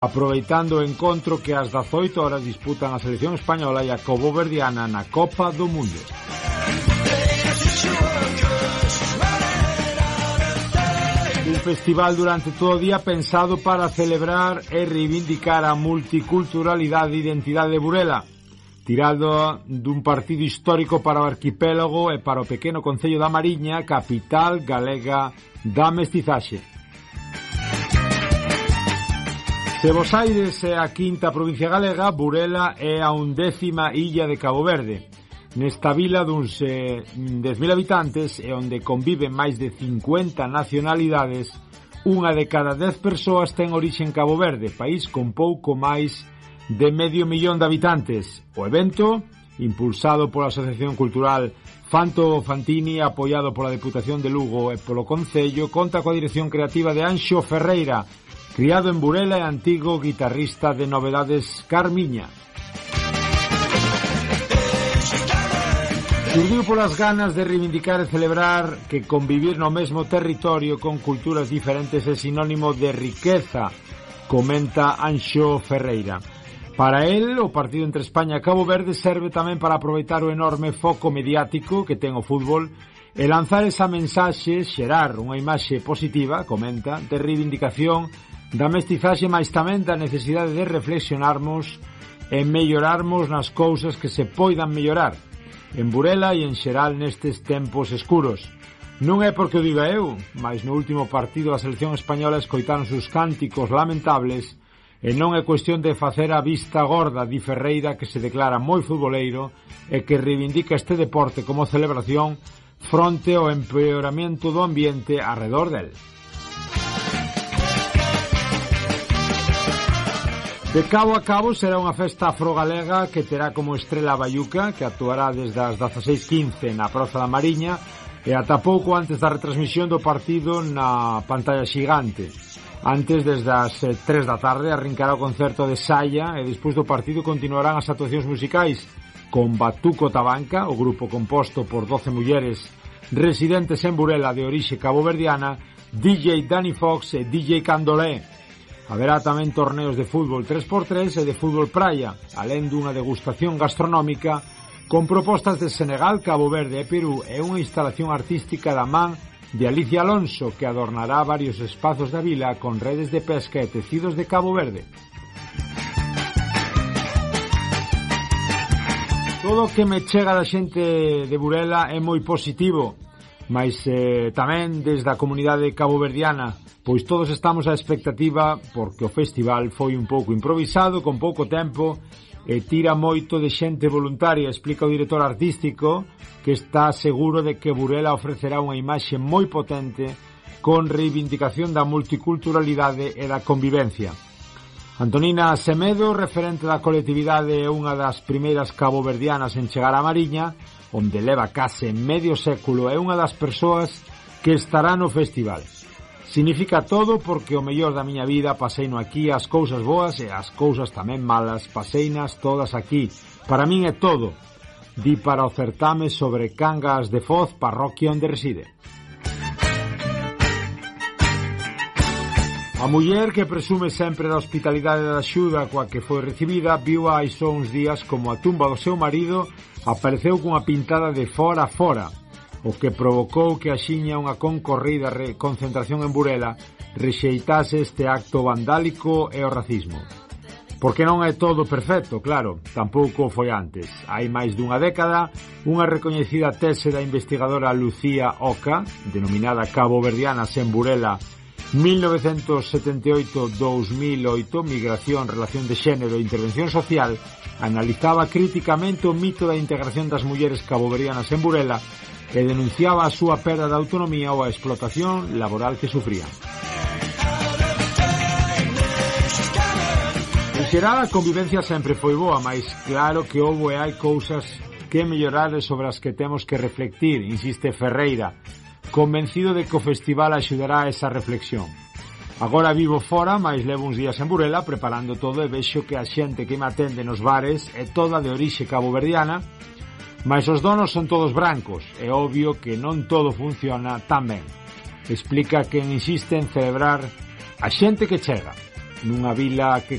aproveitando o encontro que ás 18 horas disputan a selección española e a caboverdiana na Copa do Mundo. Un festival durante todo o día pensado para celebrar e reivindicar a multiculturalidade e identidade de Burela, tirado dun partido histórico para o arquipélago e para o pequeno concello da Mariña, capital galega da mestizaxe. Se Bos Aires é a quinta provincia galega, Burela é a 11ª illa de Cabo Verde. Nesta vila duns 10.000 habitantes e onde conviven máis de 50 nacionalidades, unha de cada 10 persoas ten orixe en Cabo Verde, país con pouco máis de 500.000 de habitantes. O evento, impulsado pola Asociación Cultural Fanto Fantini, apoiado pola Deputación de Lugo e polo Concello, conta coa dirección creativa de Anxo Ferreira, criado en Burela e antigo guitarrista de Novedades Carmiña. Surdiu polas ganas de reivindicar e celebrar que convivir no mesmo territorio con culturas diferentes é sinónimo de riqueza, comenta Anxo Ferreira. Para él, o partido entre España e Cabo Verde serve tamén para aproveitar o enorme foco mediático que ten o fútbol e lanzar esa mensaxe, xerar unha imaxe positiva, comenta, de reivindicación da mestizaxe, mais tamén da necesidade de reflexionarmos e mellorarmos nas cousas que se poidan mellorar en Burela e en xeral nestes tempos escuros. Non é porque o diga eu, mas no último partido a selección española escoitaron os cánticos lamentables e non é cuestión de facer a vista gorda, di Ferreira, que se declara moi futboleiro e que reivindica este deporte como celebración fronte ao empeoramento do ambiente arredor del. De cabo a cabo será unha festa afrogalega que terá como estrela a Baiuca, que actuará desde as 16:15 na Praza da Mariña e ata pouco antes da retransmisión do partido na pantalla xigante. Antes, desde as 3 da tarde, arrincará o concerto de Saya e despois do partido continuarán as actuacións musicais con Batuco Tabanca, o grupo composto por 12 mulleres residentes en Burela de orixe caboverdiana, DJ Danny Fox e DJ Candolé. Haberá tamén torneos de fútbol 3x3 e de fútbol praia, alén dunha degustación gastronómica con propostas de Senegal, Cabo Verde e Perú e unha instalación artística da man de Alicia Alonso que adornará varios espazos da vila con redes de pesca e tecidos de Cabo Verde. Todo o que me chega da xente de Burela é moi positivo, mas tamén desde a comunidade caboverdiana, pois todos estamos á expectativa porque o festival foi un pouco improvisado, con pouco tempo e tira moito de xente voluntaria, explica o director artístico, que está seguro de que Burela ofrecerá unha imaxe moi potente con reivindicación da multiculturalidade e da convivencia. Antonina Semedo, referente da colectividade e unha das primeiras caboverdianas en chegar á Mariña, onde leva case medio século, é unha das persoas que estará no festival. Significa todo porque o mellor da miña vida paseino aquí, as cousas boas e as cousas tamén malas, paseinas todas aquí. Para min é todo, di para o certame sobre Cangas de Foz, parroquia onde reside. A muller, que presume sempre da hospitalidade e da axuda coa que foi recibida, viu hai só uns días como a tumba do seu marido apareceu cunha pintada de fora a fora, o que provocou que axiña unha concorrida concentración en Burela rexeitase este acto vandálico e o racismo. Porque non é todo perfecto, claro, tampouco foi antes. Hai máis dunha década, unha recoñecida tese da investigadora Lucía Oca, denominada Caboverdianas en Burela 1978-2008, Migración, Relación de Xénero e Intervención Social, analizaba críticamente o mito da integración das mulleres caboverdianas en Burela e denunciaba a súa perda de autonomía ou a explotación laboral que sufrían. En xeral, a convivencia sempre foi boa, mas claro que houbo e hai cousas que mellorar sobre as que temos que reflectir, insiste Ferreira, convencido de que o festival axudará a esa reflexión. Agora vivo fora, mas levo uns días en Burela preparando todo e vexo que a xente que me atende nos bares é toda de orixe caboverdiana, mas os donos son todos brancos, é obvio que non todo funciona tan ben. Explica que insiste en celebrar a xente que chega. nunha vila que